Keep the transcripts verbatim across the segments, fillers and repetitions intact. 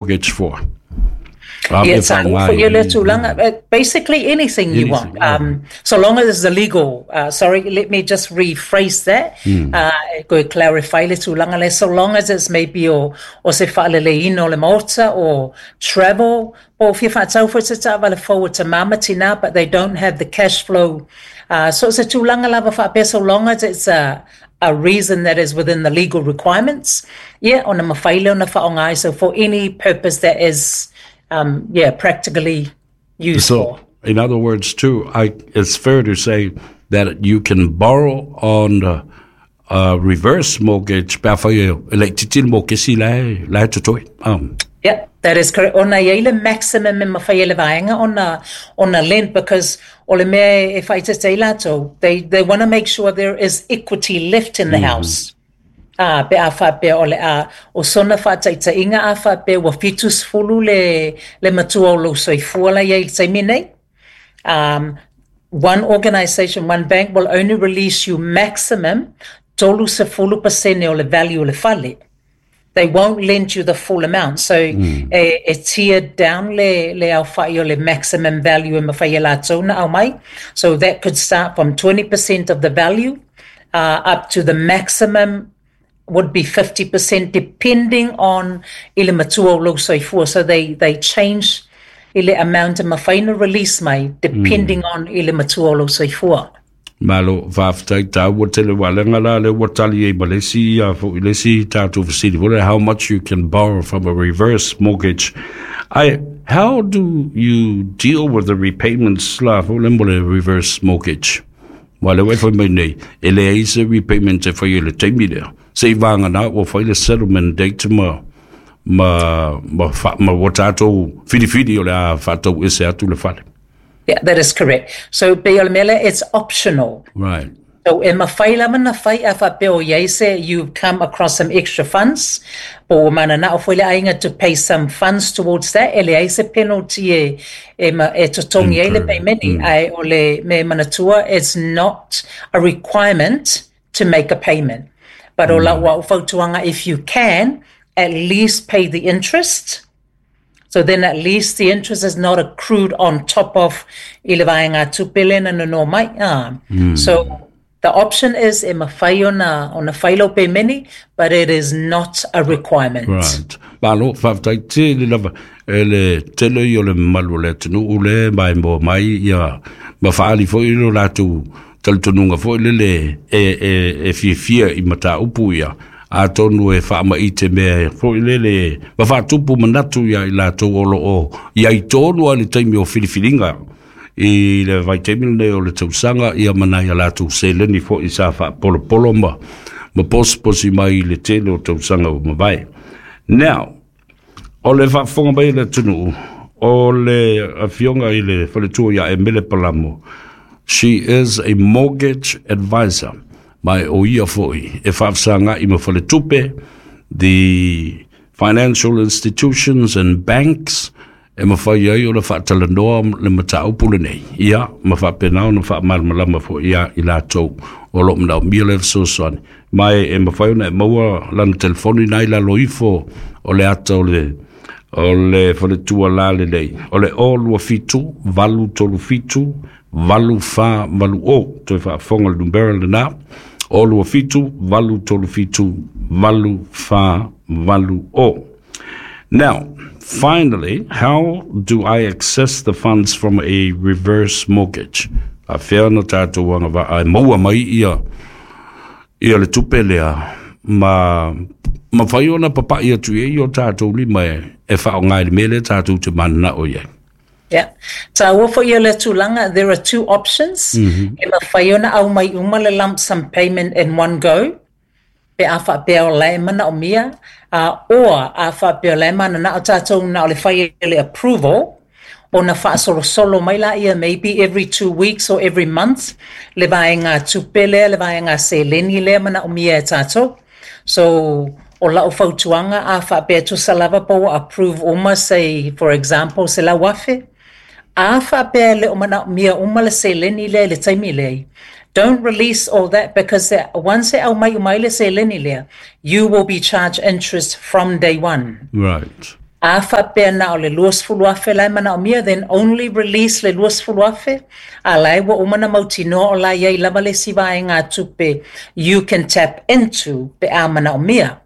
Mortgage for? Yeah, for your tulaga, basically anything you want. Um, so long as it's illegal. Uh, sorry, let me just rephrase that. Mm. Uh, go clarify le tulaga le. So long as it's maybe o, o se faaleleina o le maota or travel, po o fia faatau foi se taavale fou a tamā ma tinā, but they don't have the cash flow. Uh, so se tulaga lava faapea, so long as it's a, a reason that is within the legal requirements, yeah, ona mafai lea ona faaaoga. So for any purpose that is, um, yeah, practically useful. So, in other words, too, I, it's fair to say that you can borrow on the uh, reverse mortgage pe afai e laitiiti le mokesi la la e totoe. Um. Yeah, that is correct. Ona i ai le maximum e mafai e le vaega ona, ona lend because o le mea e faaeteete ai latou, they, they want to make sure there is equity left in the mm. house. Ah, pe a faapea o le a o sona faataitaiga a faapea ua fitu sefulu le, le matua o lou soifua la i ai i le taimi nei. Um, one organisation, one bank will only release you maximum tolu sefulu pasene o le value o le fale. They won't lend you the full amount. So mm. e, e tiered down le, le aofai o le maximum value e mafai e latou na aumai. So that could start from twenty percent of the value uh, up to the maximum would be fifty percent, depending on i le matua o lou soifua. So they, they change i le amount e mafai na release mai depending mm. on i le matua o lou soifua. Malo, faafetai tāua tele walenga la le ua tali ai ma le isi ia foʻi le isi tatou fesili foi, how much you can borrow from a reverse mortgage. I, how do you deal with the repayments la foʻi le mo le reverse mortgage? Wa le foi mai nei, e leai se repayment e fai e le taimi lea. Se i vagana ua fai le settlement date ma ma ma, fa, ma ua tatou filifili o le a faatau ese atu le fale. Yeah, that is correct. So pe o le mea lea, it's optional. Right. So e mafai lava na fai a faapea o iai se you've come across some extra funds po ua mananao foi le aiga to pay some funds towards that, e leai se penalty e, e, ma, e totogi ai le payment mm. Ae o le mea manatua, it's not a requirement to make a payment. But o lau au fautuaga, if you can, at least pay the interest. So then at least the interest is not accrued on top of i le vaega tupe lea na nono mai. Ah. Mm. So the option is e mafai ona, ona fai lau pemeni, but it is not a requirement. Right. Malo, faafetai tele lava e le tele i o le mamalu o le atunuu le mai mo mai ia ma faaali foi lo latou talitonuga foi lele e, e, e fiafia i mataupu ia atonu e faamaite mea foi lele ma faatupu manatu ia i latou o loo ia i tonu a le taimi o filifiliga i le vaitaimi lenei o le tausaga ia manai a latou seleni foi sa faapolopolo ma ma posiposi mai i le tele o tausaga ua mavae. Now, o le faafofoga mai le atunuu o le afioga i le faletua ia Emele Palamo. She is a mortgage advisor. Ma o ia foi e faafesagai ma faletupe, the financial institutions and banks e mafai ai o le faatalanoa le mataupu lenei. Ia, ma faapena ona faamalamalama foi ia i latou o loo manaomia le fesoasoani. Ma e, e mafai ona e maua lana telefoni nai lalo ifo o le ata o le o le faletua la lelei. O le o lua fitu, valu tolu fitu, valu fa valu o. Toe faafofoga le numera lena. O lua fitu, valu tolu fitu, valu fa valu o. Now, finally, how do I access the funds from a reverse mortgage? A fea na tātou agavaa e maua mai ia ia le tupe lea ma mafai ona papaʻi atu i ai o tatou lima e, e faaaoga i le mea lea tatou te mananao i ai? Yeah. Tāua foi ia le tulaga, there are two options. Mm -hmm. E mafai ona aumai uma le lump sum payment in one go, pe a faapea o lae manaomia, uh, or a faapea o lae mananao tatou na o le fai le approval, ona faasolosolo mai la ia maybe every two weeks or every month, le vaega tupe lea, le vaega seleni lea manaomia e tatou. So, o lau fautuaga a faapea tusa lava po ua approve uma, say, for example, se lau afe, a faapea le o manaomia uma le seleni lea i le taimi lea. Don't release all that because once e aumai uma ai le seleni lea, you will be charged interest from day one. Right. A faapea na o le luasefulu afe la e manaomia, then only release le luasefulu afe, a la e ua uma na mautinoa o la i ai lava le isi vaegatupe you can tap into pe a manaomia.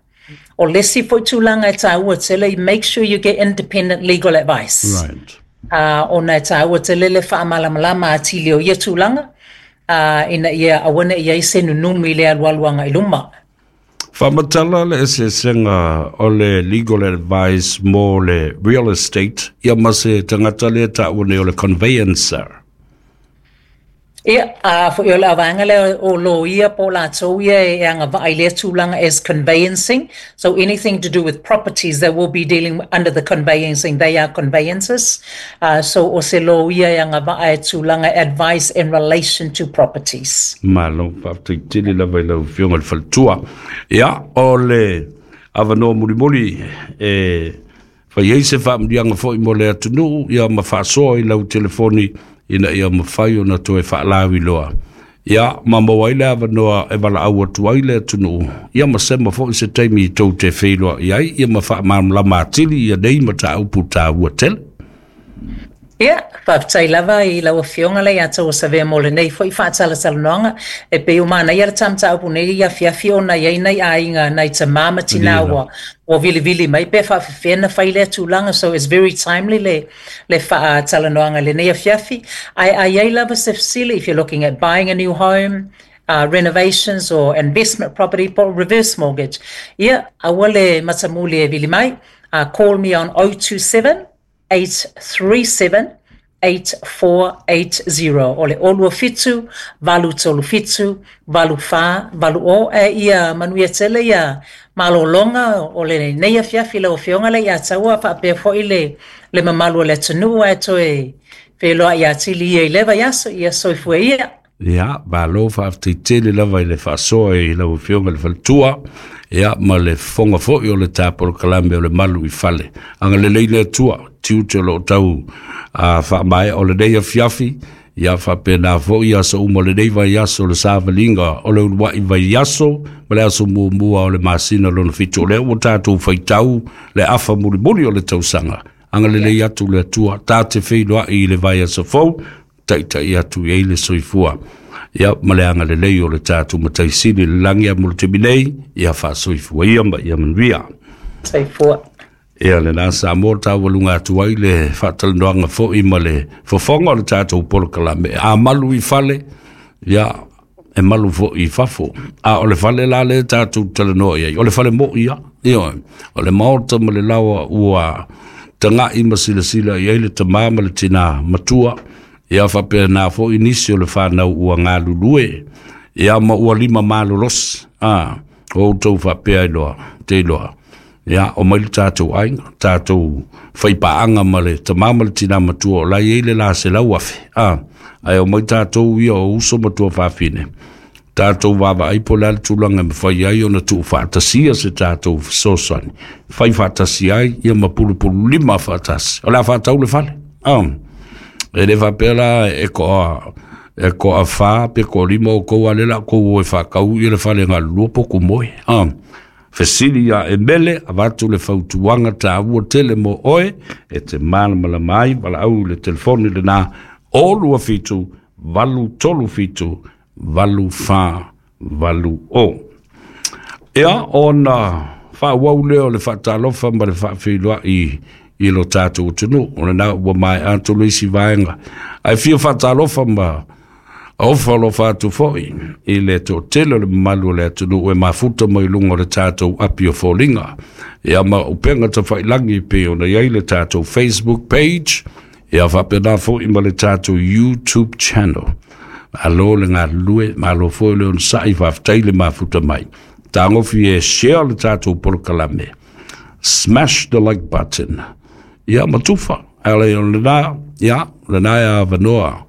O le isi foi tulaga e taua tele, make sure you get independent legal advice. Right. Uh, ona e taua tele le faamalamalama atili o ia tulaga, uh, ina ia aua ne i ai se nunumi i le alualu agai luma. Faamatala le eseesega o le legal advice mo le real estate ia ma se tagata lea taua nei o le conveyancer. Ia, a foi o le avaega lea o loia po o latou ia e agavaa i lea tulaga as conveyancing. So anything to do with properties, they will be dealing under the conveyancing. They are conveyancers. Uh, so o se loia e agavaa e tulaga advice in relation to properties. Malo, faafetai tele lava i lau Afioga i le faletua. Ia, o le avanoa mulimuli e fai ai se faamanuiaga foi mo le atunuu ia ma faasoa i lau telefoni ina ia mafai ona toe faalauiloa. Ia, ma maua ai le avanoa e valaau atu ai le atunuu, ia ma sema foi se taimi tou te feiloai ai, ia ma faamalamalama atili ia nei mataupu taua tele. Ia, faafetai lava i lau Afioga le ia tou savea mo lenei foi faatalatalanoaga. E pei ua manaia le ta mataupu nei i afiafi ona i ai nai aiga nai tamā ma tinā ua ua vilivili mai pe faafefea na fai lea tulaga. So it's very timely le le faatalanoaga i lenei afiafi. Ae a i ai lava se fesili, if you're looking at buying a new home, uh, renovations or investment property po reverse mortgage, ia, aua le matamuli e vili mai. Uh, call me on oh two seven, eight three seven, eight four eight zero. O le olua fitu, valu tolu fitu, valu fa, valu o. E ia manuia tele ia malologa o le nei afiafi lau Afioga le ia taua faapea foi le, le mamalu o le atunuu ae toe feloai atili ia i le vaiaso, ia soifua ia. Ia, malo faafetai tele lava i le faasoa i lau Afioga i le faletua, ia ma le fofoga foi o le ta polokalame o le Malu i Fale. Agalelei le Atua, tiute o loo tau uh, faamaea o lenei afiafi, ia faapena foi aso uma o lenei vaiaso o le savaliga o le uluai vaiaso ma le aso muamua o le masina lona fitu. O lea ua tatou faitau le afa mulimuli o le tausaga. Agalelei atu le Atua, ta te feiloai i le vaiaso fou, taitai atu i ai le soifua. Ia ma le agalelei o le tatou Mataisili le lagi a mo le taimi nei, ia faasoifua ia ma ia manuia. Soifua. Ia lena Samoa taualuga atu ai le faatalanoaga foi ma le fofoga o le tatou polokalame. A malu i fale, ia e malu foi i fafo. A o le fale la le tatou talanoa i ai, o le fale moi ia. Ia, o le maota ma le laoa ua taga'i ma silasila i ai le tamā ma le tinā matua. Ia faapena foi nisi o le fanau ua galulue, ia ma ua lima malolosi. A, o outou faapea iloa, te iloa. Ia, o mai le tatou aiga, tatou faipaaga ma le tamā ma le tinā matua o la i ai le la selau afe. A, ae o mai tatou ia o uso ma tuafafine. Tatou vaavaai po o le a le tulaga e mafai ai ona tuufaatasia se tatou fesoasoani. Fai faatasi ai ia ma pulupulu lima faatasi. O le a faatau le fale. A, e le faapea la e koa e koa fa pe koa lima o kou a le la kou o e faakau ia le fale galulua po kumoe. A, fesili ia e mele avatu le fautuaga taua tele mo oe e te malamalama ai valaau i le telefoni lena o lua fitu valu tolu fitu valu fa valu o. Ia ona faaauau lea o le faatalofa ma le faafeiloai i lo tatou atunuu. O lena ua maea atu le isi vaega. Ae fia faatalofa ma ofa alofa atu foi i le toatele o le mamalu o le atunuu e mafuta mai luga o le tatou api o foliga. Ia ma upega tafailagi pei ona i ai le tatou Facebook page, ia faapena foi ma le tatou YouTube channel. Malo le galulue, malo foi le onosai, faafetai le mafuta mai. Tagofi e share le tatou polokalame. Smash the like button. Ia matufa, ale o lena, ia, lena e avanoa.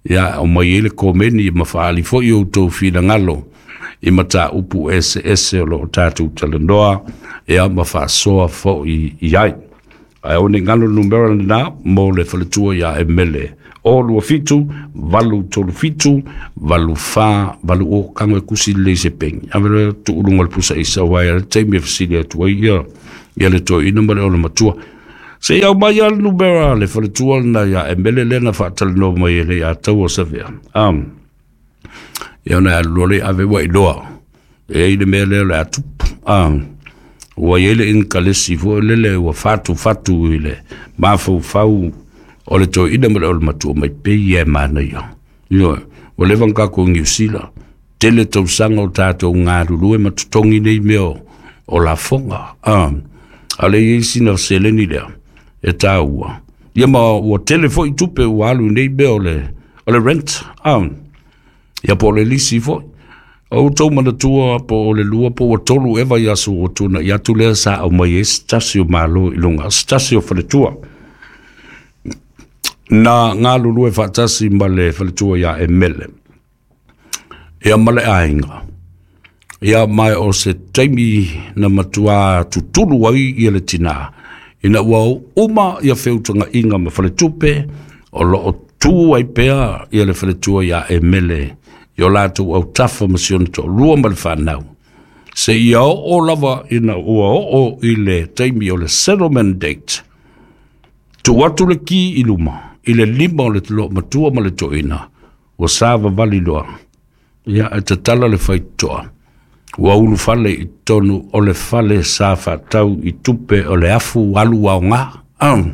Ia, o mai ai le komeni ma faali foi outou finagalo i mataupu eseese o loo tatou talanoa, ia ma faasoa foi i ai. Ae o ni galo numera lena mo le faletua ia e mele. O lua fitu, valu tolu fitu, valu fa, valu o kango e kusi le se pengi. Ave le tuulunga le pusa isa wai a le taimi e fesili atu ai ia, ia le toeaina ma le ona matua. Se iau mai al numera le faletua na ia e mele lena whaatalanoa mai e le a tau o sawea. Um, ia na alu le ave wa iloa. E i le mea lea le atupu. Um, ua i le inkalesi fo lele ua fatu fatu i le mafaufau o le toeaina ma le o le matua mai pei e manaia. Ioe, ua leva ona tatou Niu Sila, tele tausaga o tatou galulue ma totogi nei mea o lafoga. Ah, a le i ai sina seleni lea e taua. Ia ma ua tele foi tupe ua alu nei mea o le, o le rent. Ah, ia po o le lisi foi. O tou manatua po o le lua po ua tolu eva i aso ua tuna i atu lea sa au mai e se tasi o malo i luga, se tasi o faletua. Na galulue faatasi ma le faletua ia e mele. Ia ma le aiga. Ia mai o se taimi na matua tutulu ai ia le tina. Ina ua uma ia feutagaiga ma faletupe, o loo tu ai pea ia le faletua ia e mele. I o latou autafa ma si ona toalua ma le fanau. Se ia oo lava ina ua oo i le taimi o le settlement date. Tuu atu le ki i luma, i le lima o le matua ma le toeaina, ua savavali loa. Ia e tatala le faitotoa. Ua ulufale i totonu o le fale sa faatau i tupe o le afu alu aoga. Um.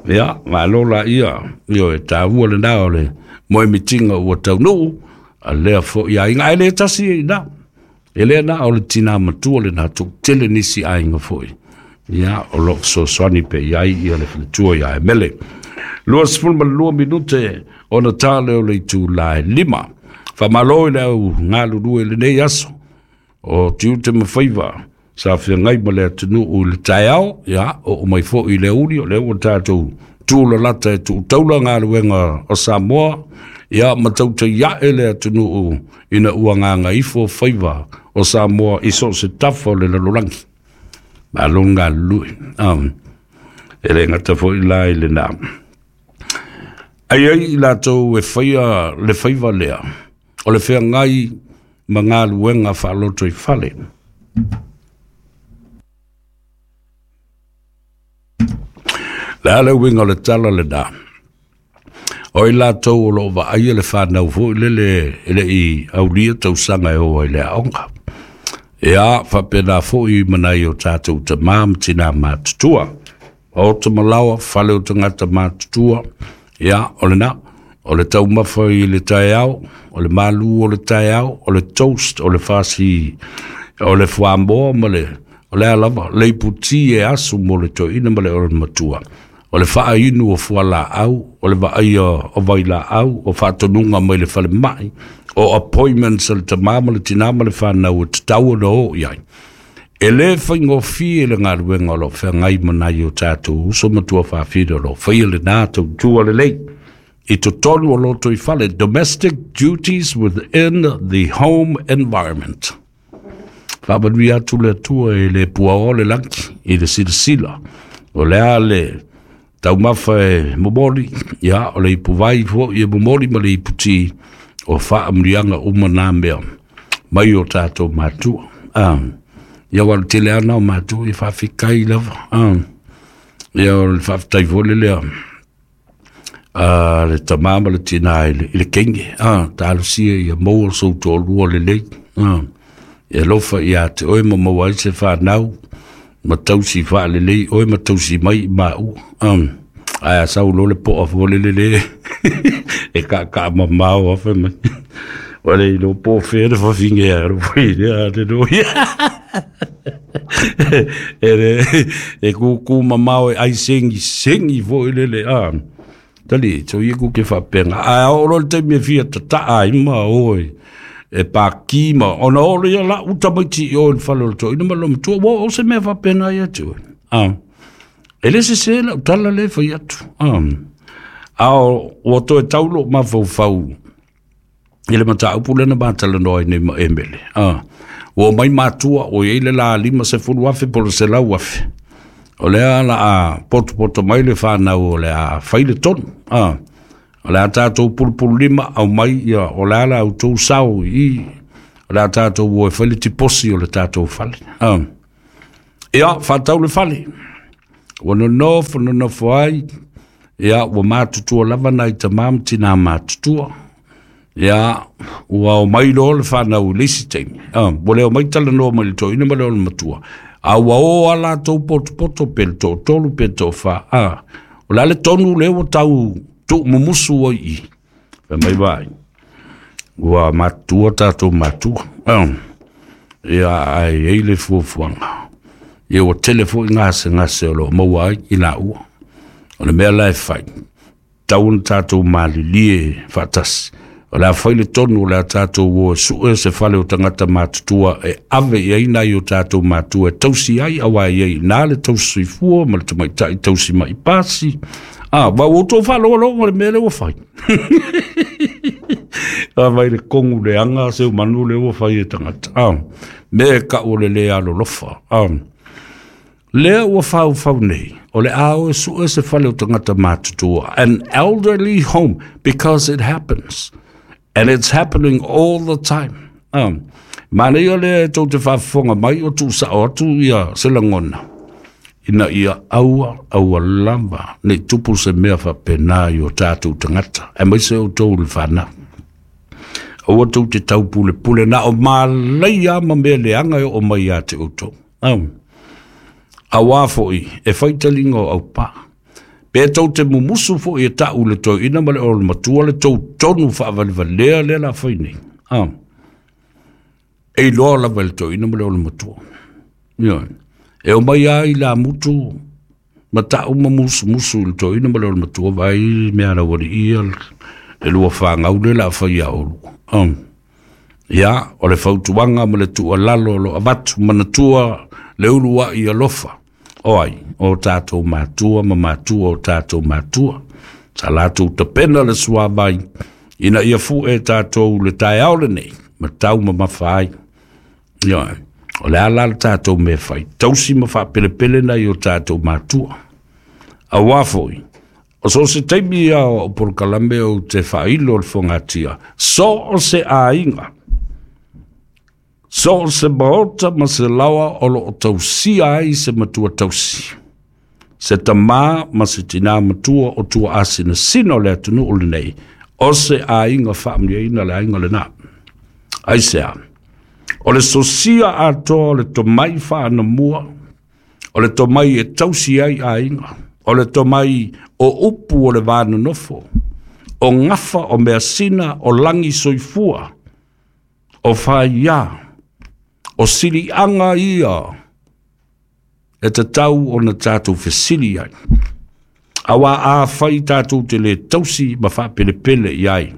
Ia, malo la ia, ioe, taua lena o le moemitiga ua taunuu, a lea foi aiga, ae le tasi e ina. E lea na o le tina matua lena toatele nisi aiga foi. Ia, o loo fesoasoani pe iai ia le faletua ia e mele. Lua sefulu ma lua minute ona tale o le itula e lima. Faamalo i le au galulue i lenei aso. O tiute ma faiva sa feagai ma le atunuu i le taeao, ia, oo mai foi i le aoauli, o lea ua tatou tulalata e tuutaula galuega o Samoa, ia ma tautaiae le atunuu ina ua gagaifo faiva o Samoa i so o se tafa o le lalolagi. Malo le galulue. Um, e le gata foi la i lena. Ai ai i latou e faia le faiva lea, o le feagai ma galuega faaloto i fale. Le a le uiga o le tala lena. O i latou o loo vaaia le fanau foi lele e lei aulia tausaga e o ai le aoga. Ia, faapena foi ma nai o tatou tamā ma tinā matutua. O tamalaoa, fale o tagata matutua, ia, o lena, o le taumafa i le taeao, o le malu o le taeao, o le toast, o le fasi, o le fuamoa ma le, o le a lava, le iputi e asu mo le toeaina ma le o le matua. O le faainu o fualaau, o le vaaia o vailaau, o faatonuga mai le falemai, o appointments a le tamā ma le tinā ma le fanau e tatau ona oo i ai. E le faigofie le galuega o loo feagai ma nai o tatou uso ma tuafafine o loo faia lena tautua lelei. I totonu o loto i fale, domestic duties within the home environment. Faamanuia atu le Atua e le puaoa le lagi i le silasila. O le a le taumafa e momoli, ia, o le ipuvai foi e momoli ma le iputi o faamanuiaga uma nā mea mai o tatou matua. Ah, ia ua le tele ana o matua e faafetai lava. Ah, ia o le faafetai foi le lea a le tamā ma le tinā i le, i le kenge. Ah, talosia ia maua sou toalua lelei. Ah, e alofa ia te oe ma maua ai se fanau ma tausi faalelei oe ma tausi mai i maua. Ah, ae a sau loa le poa foi lele le e kaakaa mamao afe mai. Ua le iloa po o fea le fafine a alo foi lea aleluia. E le e kūkū mamao e ai segi segi foi lele a. Tali, tau ia ku ke whapenga. Ae oo loa le taimi e fia tataa ai ma oe e paki ma ona oo lea la uta maiti i oe le fale o le toeaina ma le matua. Ua o se mea faapena ia te oe. Ah. E le sese lau tala le fai atu. Ah. A o ua toe tau lou mafaufau i le mataupu lea na matalanoa ai nei ma Emele. Ah. Ua omai matua o i ai le la lima sefulu afe po o le selau afe. O lea la a potopoto mai le fanau o le a fai le tonu. Ah. O le a tatou pulupulu lima au mai ia o le a la outou sao i o le a tatou o e fai le tiposi o le tatou fale. Ah. Ia, faatau le fale. Ua nonofo nonofo ai, ia ua matutua lava nai tamā ma tinā matutua. Ia ua o mai loa le fanau i le isi taimi. Ah, ua le omai talanoa mai le toeaina ma le olomatua. A ua o a latou potopoto pe le toatolu pe le toafa. Ah, o le a le tonu lea ua tau tuumumusu ai i i. Fai mai vaai, ua matutua tatou matua. Ah, ia ae i ai le fuafuaga. Ia ua tele foi gasegase o lo o maua ai i laua. O le mea la e fai, tatau ona tatou malilie faatasi. O le a fai le tonu o le a tatou o e sue se fale o tagata matutua e ave i ai nai o tatou matua e tausi ai, aua e i ai i ina le tausi soifua ma le tamaitai tausi mai pasi. Ah, va ua outou faalogologo i le mea lea ua fai. A vai le kogu leaga seu manu lea ua fai e tagata. Ah, mea e kau o le le alolofa. Ah, lea ua faufau nei, o le a o e sue se fale o tagata matutua, an elderly home, because it happens. And it's happening all the time. Um, manaia lea e tou te faafofoga mai o tuusao atu ia se lagona, ina ia aua, aua lava, nei tupu se mea faapena i o tatou tagata, aemaise outou le fanau. Aua tou te taupulepule na o malaia ma mea leaga e oo mai ia te outou. Um, auā foi e fai taliga o aupā. Pe tou te mumusu foi e ta'u le toeaina ma le olomatua le tou tonu faavalevalea lea la fai nei. Ah. E iloa lava e le toeaina ma le olomatua. Ioe. E omai lava i lamutu ma ta'u ma musumusu i le toeaina ma le olomatua, vaai mea lauali'i le lua fagau lea la fai ia oulua. Ah. Ia, o le fautuaga ma le tuualalo o lo o avatu, manatua le uluai alofa. O ai, o tatou matua ma matua o tatou matua. Sa latou tapena le suavai, ina ia fu'e tatou le taeao lenei, ma taumamafa ai. Ioe, o le a la le tatou mea fai, tausi ma faapelepele nai o tatou matua. Auā foi, o so o se taimi ia o polokalame ou te faailo le fogatia, so o se aiga, so o se maota ma se laoa o lo o tausia ai se matua tausi, se tamā ma se tinā matua o tua asinasina o le atunuu lenei, o se aiga faamanuiaina le aiga lenā. Aisea? O le sosia atoa o le tomai faanamua, o le tomai e tausi ai aiga, o le tomai o upu o le va nonofo, o gafa o measina o lagi soifua, o faiā, o siliaga ia e tatau ona tatou fesili ai. Auā afai tatou te lē tausi ma faapelepele i ai,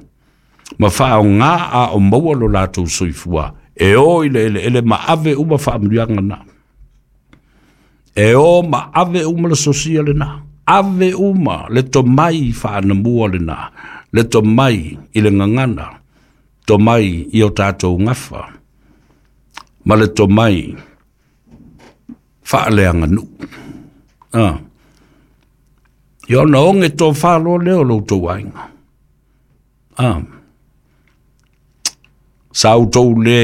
ma faaaogā a o maua lo latou soifua, e o i le eleele ma ave uma faamanuiaga na. E o ma ave uma le sosia lenā, ave uma le tomai faanamua lenā, le tomai i le gagana, tomai i o tatou gafa, ma le tomai faaleaganuu. Ah. Ia ona oge tofā loa lea o lo outou aiga. Ah. Sa outou lē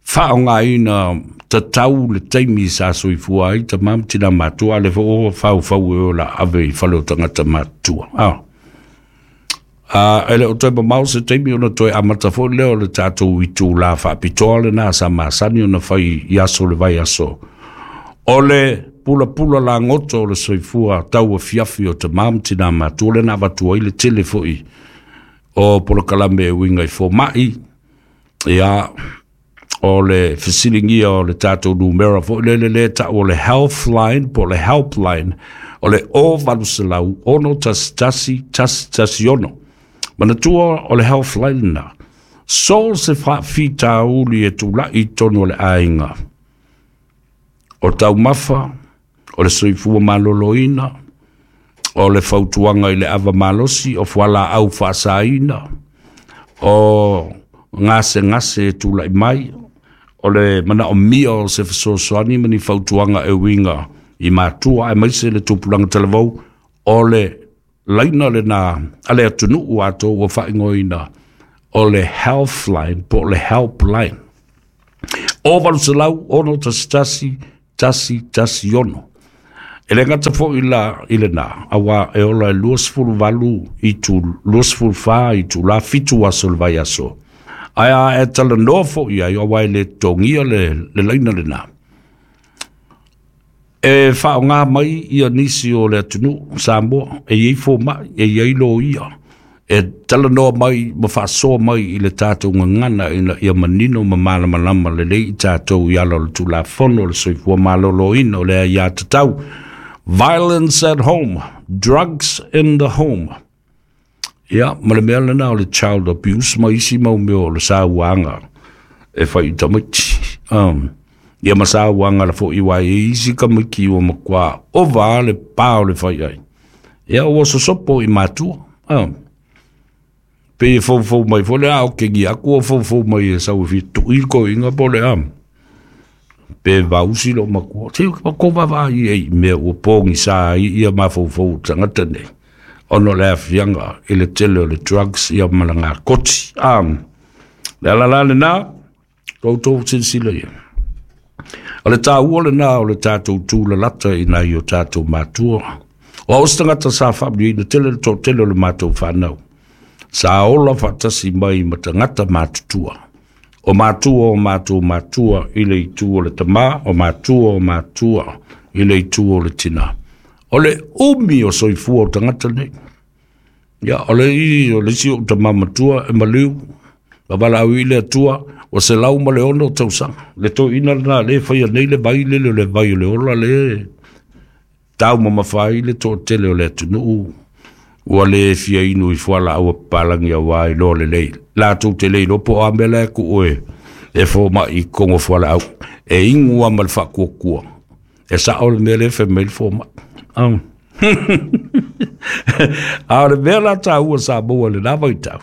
faaaogāina tatau le taimi sa soifua ai tamā ma tinā matua, a o lea foi ua faufau e o la ave i fale o tagata matutua. Ah. Ah, e le o toe mamao se taimi ona toe amata foi lea o le tatou itulā faapitoa lenā sa masani ona fai i aso o le vaiaso, o le pulapula lagoto o le soifua tauafiafi o tamā ma tinā matua, lea na avatu ai le tele foi o polokalame e uiga i foma'i. Ia, o le fesiligia o le tatou numera foi lele lea ta'u o le health line po o le helpline, o le o valu selau ono tasi tasi tasi tasi ono. Manatua o le health line lenā, so o se faafitauli e tula'i i totonu o le aiga, o taumafa, o le soifua maloloina, o le fautuaga i le ava malosi, o fualaau faasaina, o gasegase e tula'i mai, o le manaomia o se fesoasoani ma ni fautuaga e uiga i matua aemaise le tupulaga talavou, o le laina lenā a le atunuu atoa ua faaigoaina o le health line po o le helpline, o valu selau ono tasi tasi tasi tasi ono. E le gata fo'i la i lena, auā e ola e luasefuluvalu itu, luasefulufa itulā fitu aso o le vaiaso. Ae a e talanoa fo'i ai, auā e lē totogia le, le laina lenā. E faaaogā mai ia nisi o le atunuu Samoa, e iai foma'i, e iai loia, e talanoa mai ma faasoa mai i le tatou gagana ina ia manino ma malamalama lelei i tatou i ala o le Tulafono o le Soifua Maloloina o le aiā tatau. Violence at home, drugs in the home. Ia, ma le mea lena o le child abuse ma isi mau mea o le sauaga e fai i tamaiti. Um, ia ma sauaga la fo'i uaē e isi tamaiti ua matuā ova le pā o le fai ai. Ia, ua sosopo i matua. Um, pe e foufou mai foi le a o kegi aku o foufou mai e sau e fia tu'i le koiga po o le a. Pe vausi lou matua. Se ko vaavaai ai i mea ua pogisā ai ia mafaufau o tagata nei. Ona o le aafiaga i le tele o le drugs ia ma le gakoti. A, le ala la lenā, outou silasila ia. O le tāua lenā o le tatou tūlalata i nai o tatou matua. O au se tagata sa faamanuiaina tele le toatele o le matou fanau. Sa ola faatasi mai ma tagata matutua. O matua o matou matua i le itu o le tamā, o matua o matua i le itu o le tinā. O le umi o soifua o tagata nei. Ia, o le i o le isi ou tamā matua e maliu, ma valaau i le Atua, ua selau ma le ono tausaga. Le toeaina lenā lea e faia nei le vai lele o le vai o le ola lea e taumamafa ai le toatele o le atunuu ua lē fia inu i fualaau a papalagi auā iloa lelei latou te le iloa po o a mea la e kuu e e fomaʻi i totonu o fualaau e inu a ma le faakuakua e saʻo le mea lea fai mai le fomaʻi. A o le mea la taua sa maua i lenā vaitau,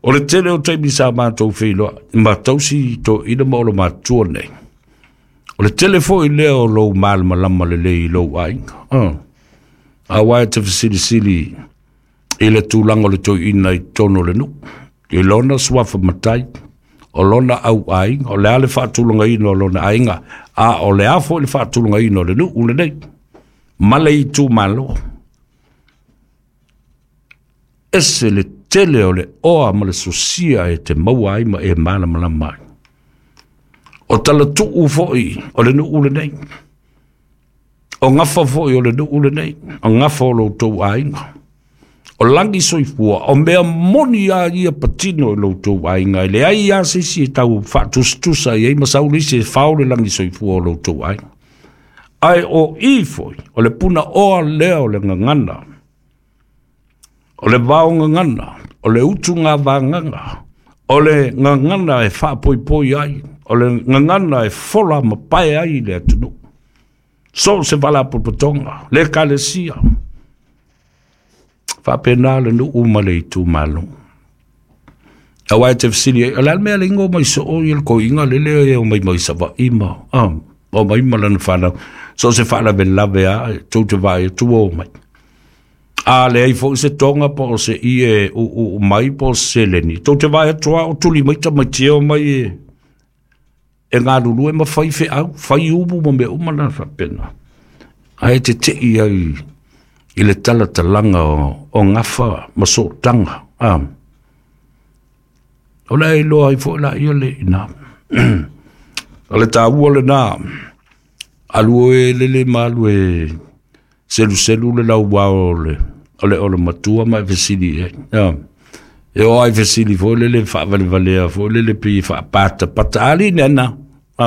o le tele o taimi sa matou feiloai ma tausi toeaina ma olomatua nei, o le tele foi lea o lou malamalama lelei i lou aiga. Auā e te fesilisili i le tulaga o le toeaina i totonu o le nuu, i lona suafa matai, o lona auaiga, o le a le faatulagaina o lona aiga, a o le a foi le faatulagaina o le nuu lenei ma le itumalo. Ese le tele o le oa ma le sosia e te maua ai ma e malamalama ai. O talatuu foi o le nuu lenei, o gafa foi o le nuu lenei, o gafa o lo outou aiga, o lagi soifua, o mea moni a ia patino i lo outou aiga, e leai lava se isi e tau faatusatusa i ai ma sau le isi e fao le lagi soifua o lo outou aiga. Ae o i foi, o le punaoa lea o le gagana, o le vao gagana, o le utuga vagaga, o le gagana e faapoipoi ai, o le gagana e fola ma pae ai le atunuu. So se faalapotopotoga, le ekalesia, faapena le nuu ma le itumalo. Auā e te fesili ai, o le a le mea le igoa mai soo ia le koiga lele e omai mai Savaii ma a, omai ma lana fanau. So se faalavelave a e tou te vaai atu ua omai. A leai foi se toga po o se ie uuu mai po o se seleni, tou te vaai atu lava o tuli mai tamaiti e omai e e galulue ma fai feau, fai umu ma mea uma na faapena. Ae teteʻi ai i le talatalaga o, o gafa ma sootaga. A, o le a iloa ai foi laia le iina. O le taua lenā, alu e lele ma alu e seluselu le lauao o le o le o le matua ma e fesili i ai. A, e oo lava i fesili foi lele faavalevalea foi lele pei e faapatapata alii nena. A,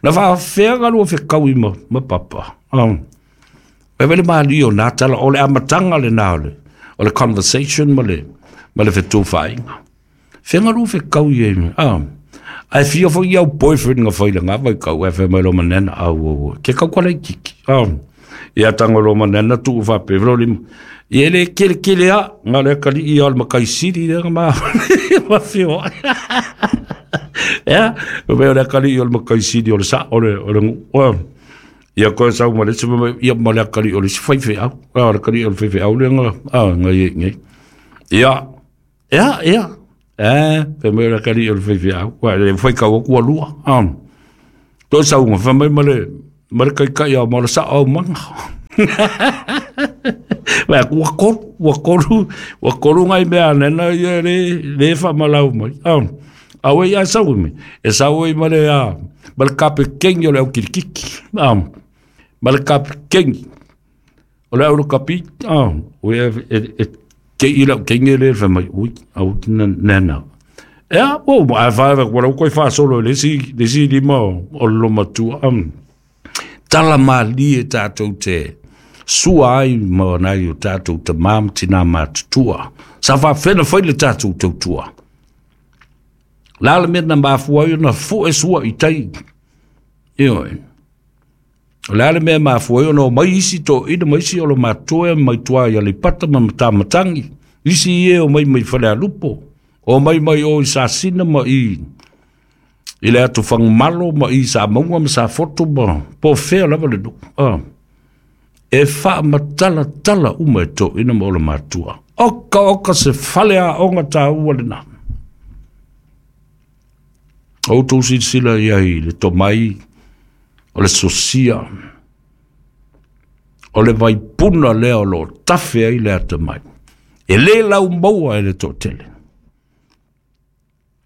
na faafefea galua fekaui ma, ma papa. A, e vele malie o nā tala, o le amataga lenā o le, o le conversation ma le, ma le fetufaaiga. Fea galua fekaui ai, a, ae fia foi au boyfriend nga fai le ngā vaitau, e fai mai lo manena, au, au, au, ke kau kala i kiki. A, ia tago lo manena tuu faapea lo lima. Ia e le kelekele a, nga le akalii ia o le makai sili lea nga ma, ma fioai. Ia, o mea o le akalii o le makai sili o le sa, o le, o le nuu. Ia koe sau ma le isi, ia ma le akalii o le isi faifeau. A, o le akalii o le faifeau lea nga, a, nga i nei. Ia, ia, ia, e, fai mai o le akalii o le faifeau. Ua, le faikau aku ua lua. A, toe sauga, fai mai ma le, Ma le kaikai au ma le sao au manga. Wa ua kolu, ua kolu, ua kolu ngai mea nena ia le, le fa malau mai. Ah, awe ia sau me. E sau i ma le a, ma le kape kengi o le au kirikiki. Ah, ma le kape kengi. O le au le kapi, ah, o e, e, e, ke i lau kengi le fa mai, ui, au tina nena. Ea, o, a fa, wa lau koi fa solo le si, le si lima o, o lo matua. Um, tala mali e tātou te sua ai ma nai o tātou te mam tina matutua. Sa fa whena whai le tātou tautua. Lala mea na mafua ai na fue sua i tai. Ioe. Lala mea mafua ai na mai isi to ina mai isi o lo matua mai tua i alipata ma matamatangi. Isi ie o mai mai whale alupo. O mai mai o i sasina ma i i le atu whangmalo ma i sa maunga ma sa foto ma po whea lava le nu. Ah. E wha matala tala uma e tō ina ma o le matua. Oka oka se fale a onga tā ua le nā. O tō silasila ia i le tomai o le sosia o le vaipuna lea o lo tafe ai le ata mai. E le lau maua e le tō tele.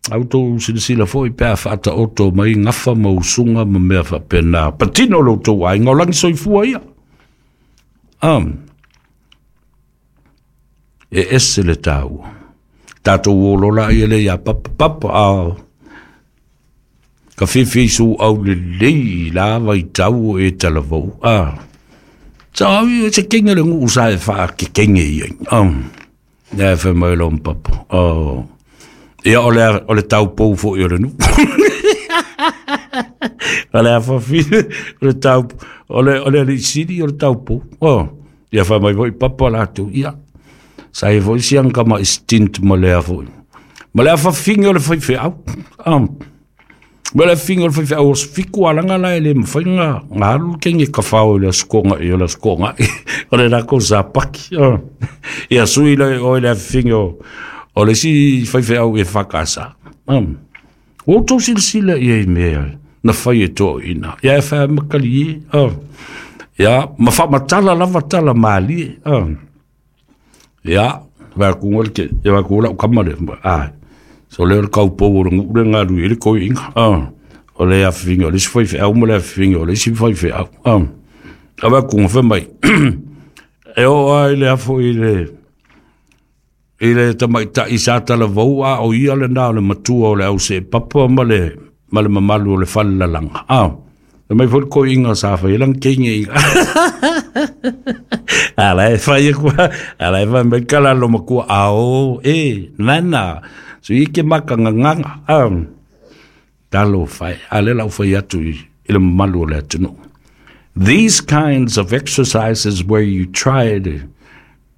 Au tō silasila foi pe a whaata oto mai ngafa ma usunga ma mea whapena. Patino lo tō ai ngau langi soifua ia. Um, e ese le tāua. Tātou o lola ia le ia papa papa a ka whiwhi su au le lei la vai tau e talavau. Ah. Sa au e se kenge le ngu sa e wha ke kenge ia. Um, nea e wha mai lo papa. Oh. Ia o le, o le tau pou fo i o le nu. O le awhawhi, o le tau, o le, o le siri o le tau pou. Oh. Ia wha mai foi papa lātou. Ia. Sa e foi siang kama stint ma le awhoi. Ma le awhawhingi o le whai wheau. Um. Ma le awhingi o le whai wheau o fiku alanga la e le mwhai ngā ngā alu kenge ka whao i le askonga i o le askonga. O le rako sa paki. Oh. Ia sui le o le awhingi o o le si whai wheau e whakasa. Um. O tō silasila ia i mea na whai e tō ina. Ia e whai makali e. Oh. Ia, ma whamatala lava tala maali e. Oh. Ia, wha kunga le ke, ia wha kunga lau kama le. Ah. So le o le kaupou o le ngure ngā rui e le koi inga. Oh. O le awhinga, o le si whai wheau ma le awhinga, o le si whai wheau. Oh. A wha kunga whai mai. E o ai le afo i le i le tamaita'i sa talavou a o ia lenā o le matua o le au se papa ma le ma le mamalu o le fale lalaga. A le mai foi le koiga sa fai lana keiga iga ala e fai kua ala e fai mai kala lo makua ao e nana so i ke makagagaga a talo fai a le lau fai atu i le mamalu o le atunuu. These kinds of exercises where you try to,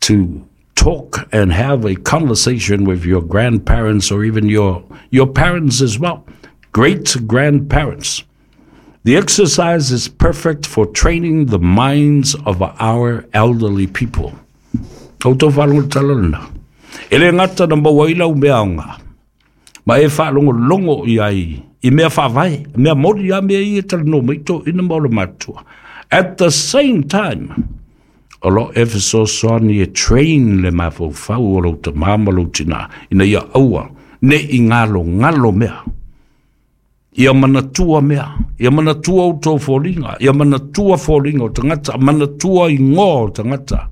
to talk and have a conversation with your grandparents or even your, your parents as well, great-grandparents. The exercise is perfect for training the minds of our elderly people. O tō whalongo talana. E le ngata na maua i lau mea anga. Ma e whalongo longo i ai, i mea whawai, mea mori a mea i e talano mai tō ina maula matua. At the same time, o lo e fesoasoani e train le mafaufau o lou tamā ma lou tinā, ina ia aua, ne i ngalo ngalo mea. Ia manatua mea, ia manatua o tō foliga, ia manatua foliga o tagata, manatua igoa o tagata,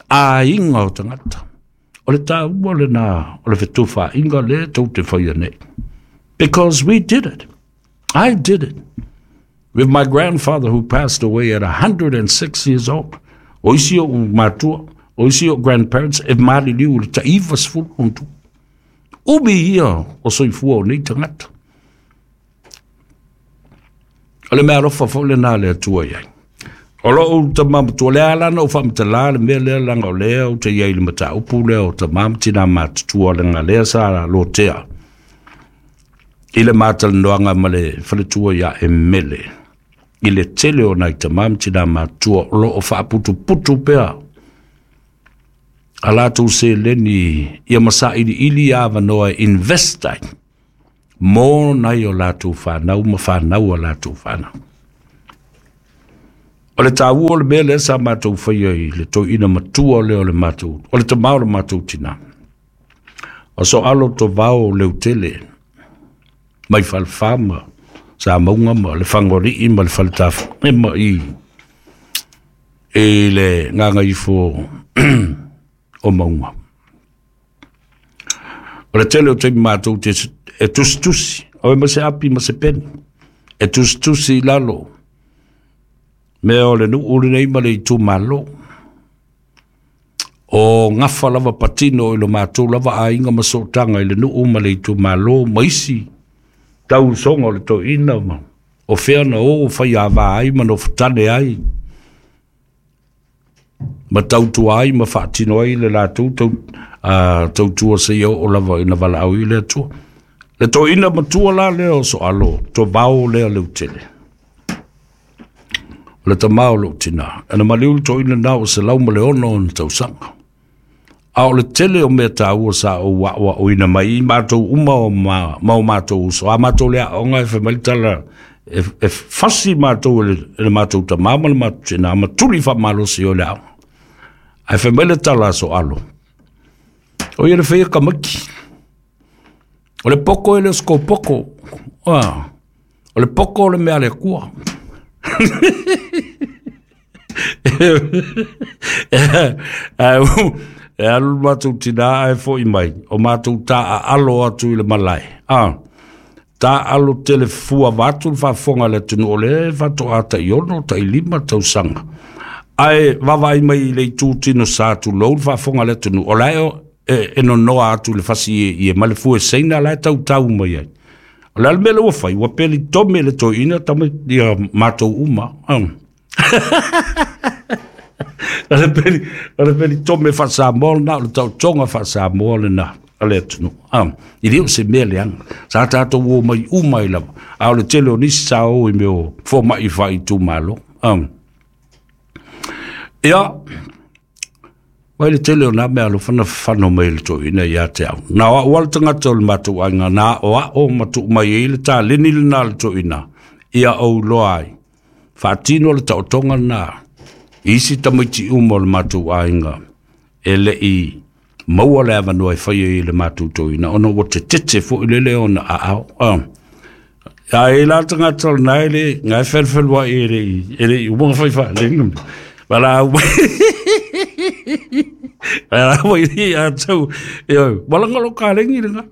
aiga o tagata. O le tāua lenā, o le fetufaaiga lea tou te faia nei. Because we did it. I did it. With my grandfather who passed away at one hundred six years old. O isi o matua, o isi o grandparents, e maliliu le taiva sefulu ona tu. Umi ia o soifua o nei tagata. O le mea alofa foi lenā le Atua i ai. O lou tamā matua lea lana o faamatala le mea lea laga o lea ou te iai le mataupu lea o tamā ma tinā matutua lega lea sa lotea i le matalanoaga ma le faletua ia e mele i le tele o nai tamā ma tinā matua o loo faaputuputu pea a latou seleni ia masailiili avanoa e invest ai mo nai o latou fanau ma fanau a latou fanau. O le tāua o le mea lea sa matou faia i le toeaina matua lea o le matou, o le tamā o le matou tinā. O Soalo Tovao Leutele, mai Falefa ma Samauga ma le Fagolii ma le Faletafu ma i i le Gagaifo o Mauga. O le tele o taimi matou te e tusitusi, o e ma se api ma se peni, e tusitusi i lalo, mea o le nuu lenei ma le itumalo. O gafa lava patino i lo matou lava aiga ma sootaga i le nuu ma le itumalo ma isi tausoga o le toeaina ma o fea na o faiava ai ma nofotane ai ma tautua ai ma faatino ai le latou tau, uh, tautua seia oo lava ina valaau i le Atua. Le toeaina matua la lea o Soalo Tovao lea Leutele, o le tamā o lou tinā. Ana maliu le toeaina na o selau ma le ono ona tausaga. A o le tele o mea tāua sa ou aoaoina mai i matou uma o ma, ma o matou uso. A matou le aoga e fai mai le tala e, e fasi matou e le, e le matou tamā ma le matou tinā, ma tuli faamalosi o le aoga. Ae fai mai le tala a Soalo, o ia le faia kamaki. O le poko e le o se kopoko. Ah, o le poko o le mea le Atua. E alu le matou tinā ae fo'i mai, o matou taaalo atu i le malae. Ah, taaalo tele fua vaatu le faafofoga a le atunuu o lea e faatoa taiono, tailima tausaga. Ae vaavaai mai i le itu tino sa tulou le faafofoga a le atunuu, o la e e nonoa atu le fasi i e ma le fue seina la e tautau mai ai. O le a le mea lea ua fai, ua peli tome le toeaina tama ia matou uma. O le peli, o le peli tome faasamoa lena, o le taotoga faasamoa lena a le atunuu. I le o se mea leaga, sa tatou o mai uma ai lava, a o le tele o nisi sa o i mea o fomai faaitumalo. Ia, mai le tele o nā mea alofa na fafano mai le toeaina ia te au. Na o au le tagata o le matou aiga, na o ao ma tuu mai ai le taleni lena le toeaina, ia ou loa ai. Faatino le taotoga lena, isi tamaiti uma o le matou aiga, e lei maua le avanoa e fai ai le matou toeaina, ona ua tetete foi lele ona aao. A e la tagata o lena e le, ngai felfeluai e le, e le umaga fai faalega. Wala au wala au i atu e wala ngalo ka lengi lenga.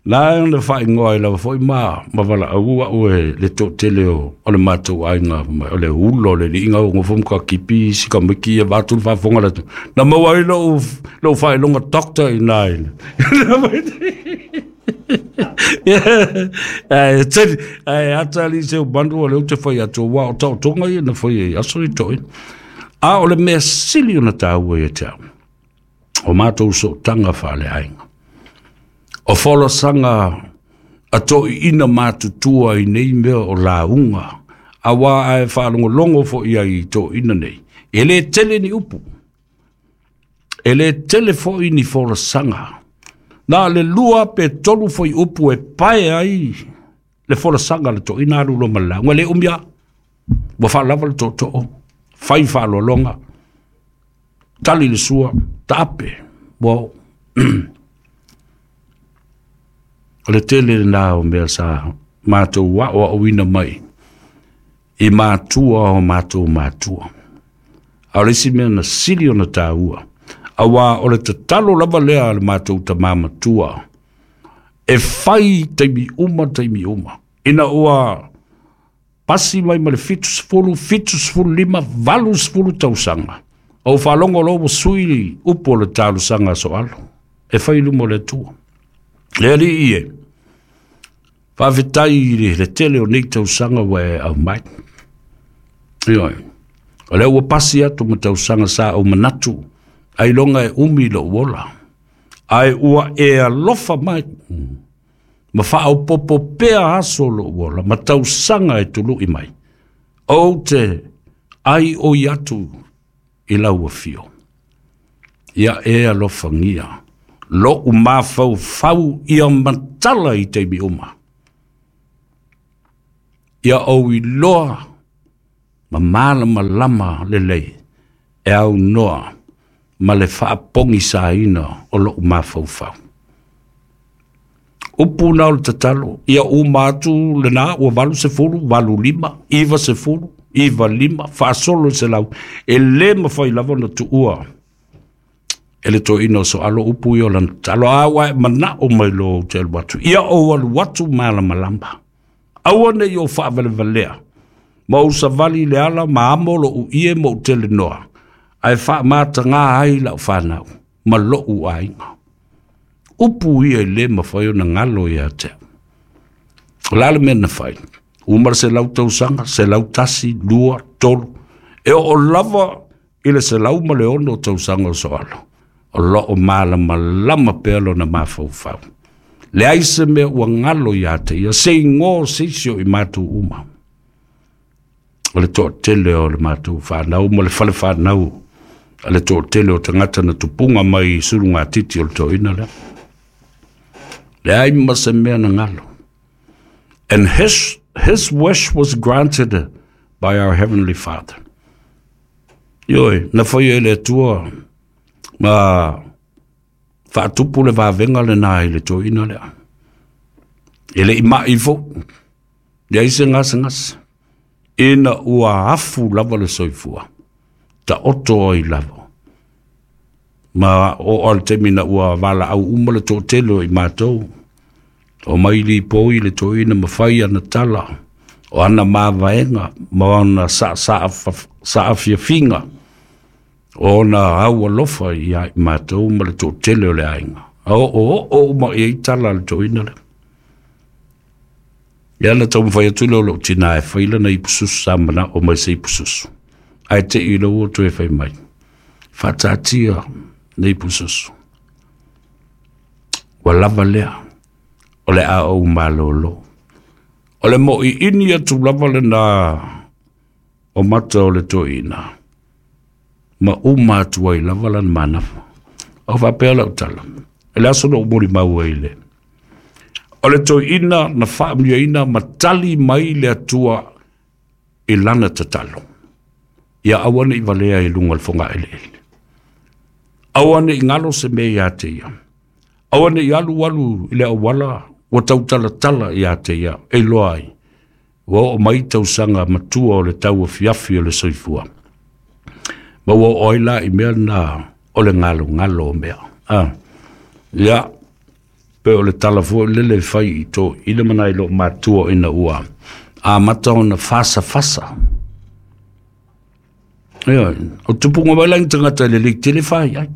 La na whaingoa i lawa foi ma ma wala au au e le tō tele o o le matou aiga o le ulo le liinga o ngofo ka kipi si ka miki e vatu le faafofoga le na maua ai lou lou faailoga doctor i nā ina. Ae tali ae atali se bandu o le te fai atu wa o taotoga ia na fai ai aso i toeaina. A o le mea sili ona tāua ia te au, o matou sootaga faaleaiga, o folasaga a toeaina matutua i nei mea o lauga, auā ae faalogologo foi ai i toeaina nei. E lē tele ni upu, e lē tele foi ni folasaga. Na le lua pe tolu foi upu e pae ai le folasaga le toeaina alu loa ma le lauga. E lē umi lava, ua faalava le tootoo, fai faaaloaloga, tali le sua, taape, ua oo. O le tele lena o mea sa matou aoaoina mai i matua o matou matua. A o le isi mea na sili ona tāua, auā o le tatalo lava lea a le matou tamā matua, e fai taimi uma taimi uma. Ina ua pasi mai ma le fitu sefulu, fitu sefulu lima, valu sefulu tausaga, ou faalogo loa ua sui upu o le talosaga a Soalo, e fai i luma o le Atua. Le alii e, faafetai i le tele o nei tausaga ua e aumai. Ioe, o lea ua pasi atu ma tausaga sa ou manatu, ailoga e umi lou ola, ae ua e alofa mai, ma faaopopo pea aso lou ola, ma tausaga e tului mai. Ou te ai oi atu i lau afio. Ia e alofagia, lou mafaufau ia matala i taimi uma. Ia ou iloa Ma malamalama lelei e au noa ma le faapogisaina o lou mafaufau. Upu na o le tatalo, ia uma atu lena ua valu sefulu, valu lima, iva sefulu, iva lima, faasolo i selau, e lē mafai lava ona tuua e le toeaina o Soalo upu ia o lana tatalo. A ua e manao mai loa ou te alu atu, ia ou alu atu malamalama, aua ne i ou faavalevalea ma ou savali i le ala ma amo lou ie ma ou telenoa, ae faamatagā ai lau fanau ma lou aiga. Upu ia e lē mafai ona galo ia te au. O le a le mea na fai? Uma le selau tausaga, selau tasi, lua, tolu, e oo lava i le selau ma le ono tausaga o Soalo, o loo malamalama pea lona mafaufau. Leai se mea ua galo ia te ia, se igoa o se isi o i matou uma. O le toatele o le matou fanau ma le fale fanau a le toatele o tagata na tupuga mai i sulugatiti o le toeaina lea. Leai ma se mea na galo. And his, his wish was granted by our Heavenly Father. Ioe, na faia e le Atua ma faatupu le vavega lena i le toeaina lea. E le i mai foʻi, leai se gasegase, ina ua afu lava le soifua, taoto ai lava. Ma oo le taimi na ua valaau uma le toatele o i matou, o mai lipoi le toeaina ma fai ana tala, o ana mavaega ma ona saafiafiga, o ona au alofa ia i matou ma le toatele o le aiga. A oo oo uma i ai tala a le toeaina lea. Ia na taumafai atu lea o lou tinā e fai lana ipususu, sa manao mai se ipususu, ae te i lau ua toe fai mai, faataatia le ipususu, ua lava lea, o le a ou malōlō. O le moʻiʻini atu lava lena o mata o le toeaina, ma uma atu ai lava lana manafa. O faapea lau tala, e le aso na ou molimau ai le o le toeaina na faamanuiaina ma tali mai le Atua i lana tatalo, ia aua ne i valea i luga o le fogaeleele, aua ne i galo se mea ia te ia, aua ne i alualu i le auala ua tautalatala ia te ia, e iloa ai ua oo mai tausaga matua o le tauafiafi o le soifua, ma ua oo ai la i mea na o le galogalo o mea. Ah, ia pe o le tala foi lele fai i toeaina ma nai loo matua ina ua amata ona fasafasa. Ia, o tupuga mai lagi tagata e lelei tele fai ai,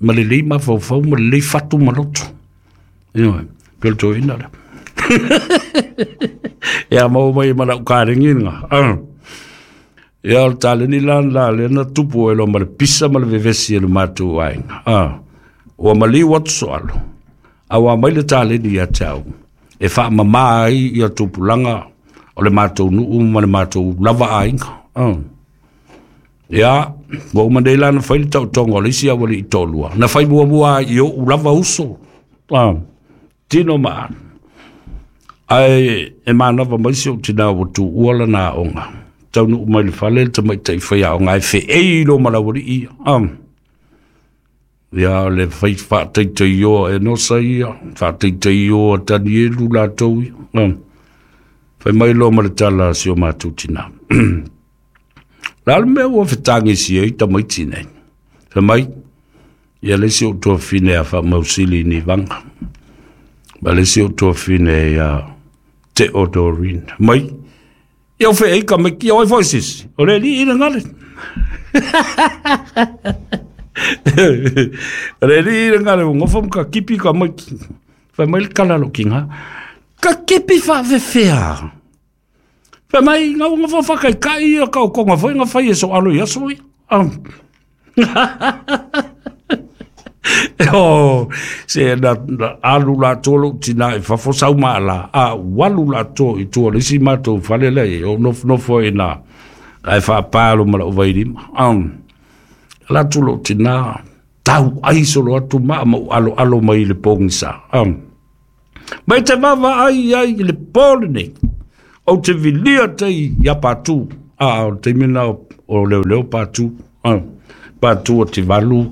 ma lelei mafaufau ma lelei fatu ma loto. Ia, pe o le toeaina lea. Ia maua mai ma lau kalegi ga. Ah. Ia o le taleni la la lea na tupu ai loa ma le pisa ma le vevesi e le matou aiga. Ah. Ua maliu atu Soalo, a ua mai le taleni ia te au e faamamā ai ia tupulaga o le matou nuu ma le matou lava aiga. Ah. Ia, ua uma nei la na fai le taotoga o le isi aualii toalua, na fai muamua ai i oʻu lava uso. Ah. Tino ma alu. Ae e manava mai si ou tinā ua tuua lana aoga, taunuu mai le fale le tamaitai faiaoga ae feei loa ma le aualii ia. Ah. Ia o le fai faataitaioa e Nosa ia, faataitaioa Tanielu latou ia. Ah. Fai mai loa ma le tala a si o matou tinā. La le mea ua fetagisi ai tamaiti nei. Fai mai, ia le isi ou tuafafine a Faamausili i Nivaga, ma le isi ou tuafafine ia Teodorin. Mai, ia o feei ka maiki, ia oi foi sisi, o le alii le gale. O le alii le gale, ua gofa ma ka kipi ka maiki. Fai mai le tala a lou tiga, ka kipi faafefea. Fai mai, ga ua gofa faakaikai ia kaokoga foi ga fai e Soalo i aso ia. Ah. O, se na, na alu latou lou tinā i fafo sau maala, a ua alu latou i tua o le isi matou fale lea i ai, o nofonofo ai ina ae faapā loa ma lau vailima. Ah. Ala atu lou tinā, tau ai solo atu maa ma ou aloalo mai i le pogisa. Ah. Mai te vaavaai ai i le po lenei, ou te vilia tai ia Patu A o le taimi lena o leoleo patu, a patu o Tivalu,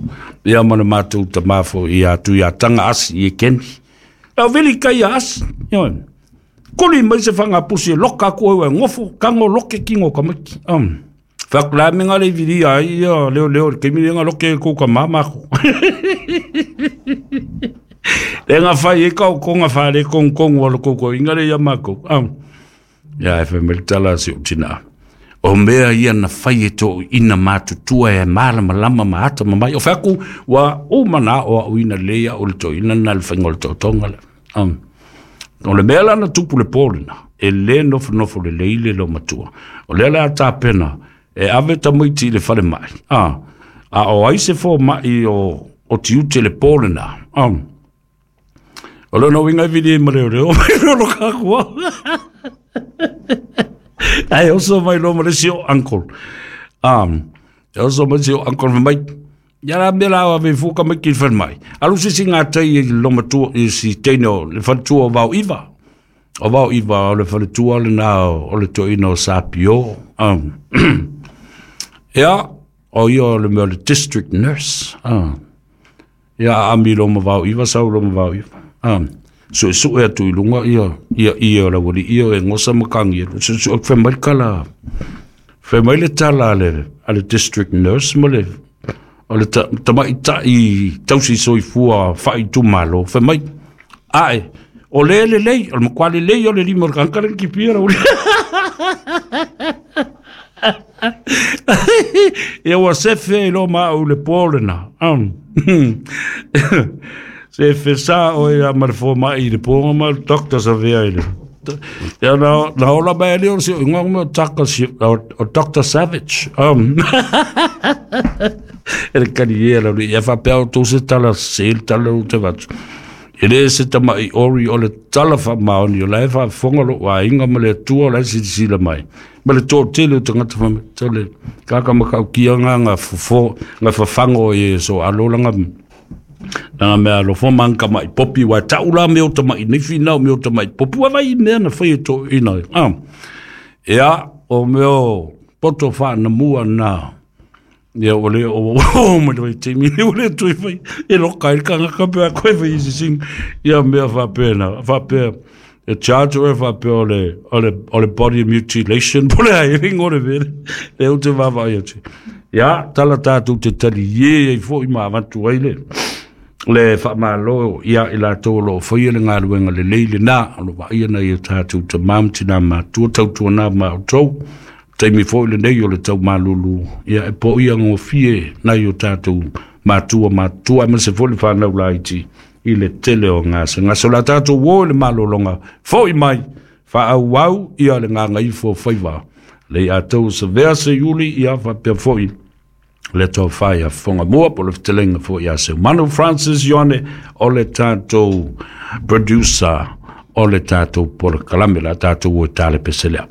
ia ma le matou tamā foi ia Tuiataga Asi i Ekeni. Lau vili kai a asi, ioe. Kuli mai se whangapusi e loka aku e ngofo, kango loke kingo kamaki. Um, Whakula me ngā lei viri ai, ia leo leo, le keimi nga loke kou ka mamako. Le ngā whai e kau konga whare kong kong walo koko, inga le ia mako. Um, ia e whameli tala si o tina. O mea ia na whai e tō ina mātutua e malama lama ma ata mamai. O whaku, wa o mana o au ina leia o le tō ina na le whainga o le tō le. Um, o le mea lana tupu le pōlina, e le nofo nofo le leile lo matua. O lea lea tāpena, e ave tamaiti i le whare mai. Ah, a o aise fō mai o, o tiute le pōlina. Um, o leo no winga vili e mareo reo, mai reo lo kakua. Ai oso mai lo ma le si o uncle. Um, e oso mai si o uncle mai. Ia la mea la ave fuka mai ki whare mai. Alu sisi ngā tei i lo matua, i si teine o le whare o vau iwa. O vau iwa o le whare tua le nā o le toina o Sapio. Um, ia, o ia o le mea le district nurse. Um, ia ami lo ma vau iwa, sau lo ma vau iwa. Um, so e sue atu i lunga ia, ia ia o la wali ia e ngosa makangi. So so whai mai kala, whai mai le tala a le, a le district nurse ma le, o le tamai tai tausi soifua whai tumalo, whai mai, ae, o le le lei, o le makwale lei o le lima o le kankare ki pia rauli. Ia ua sefe i lo maa u le pōlena. Um. Se fesa o ia ma le fō mai i le pōnga ma le doctor sa vea i le. Ia na, na ola mai ali o si o ingoa mo taka si o, o Doctor Savage. Um. E le kani e la ia whapea o tō se tala se le tala o te vatu. E le se tamai ori o le tala wha maoni o la e wha whonga lo wa inga ma le atua o la e silisila mai. Ma le tō tele o tangata wha tole kaka makau kia ngā ngā fofo, ngā whawhango e so alola ngā ngā mea lo fo mangka mai popi wa taula me o tamai nifi nau me o tamai popi wa vai mea na whai e tō ina. Ah. Ea o meo poto wha na mua na. Ia o le o o ma le timi o le tui fai e lo kai ka ka pe ko fai si sing ia mea fa pena fa pe e charge o fa pe o le o le o le body mutilation pole ai ringo le vele le o te va va ia ti ia tala tatu te tali ye e fo i ma avatu ai le le fa malo ia i la tolo fo ia le ngaluenga le leile na o va ia na ia tatu te mam tina ma tu tau tu na ma to taimi foi le nei o le tau malulu ia e po ia ngofie na i o tātou matua matua ma se foi le whanau laiti i le tele o ngā se ngā so la tātou wo le malolonga foi mai wha au ia le ngā ngaifo whaiwa le a tau se vea se iuli ia whapea foi le tau whai a whonga mua po le whtelenga foi a se Manu Francis Ioane o le tātou producer o le tātou polo kalame la tātou o tale peselea.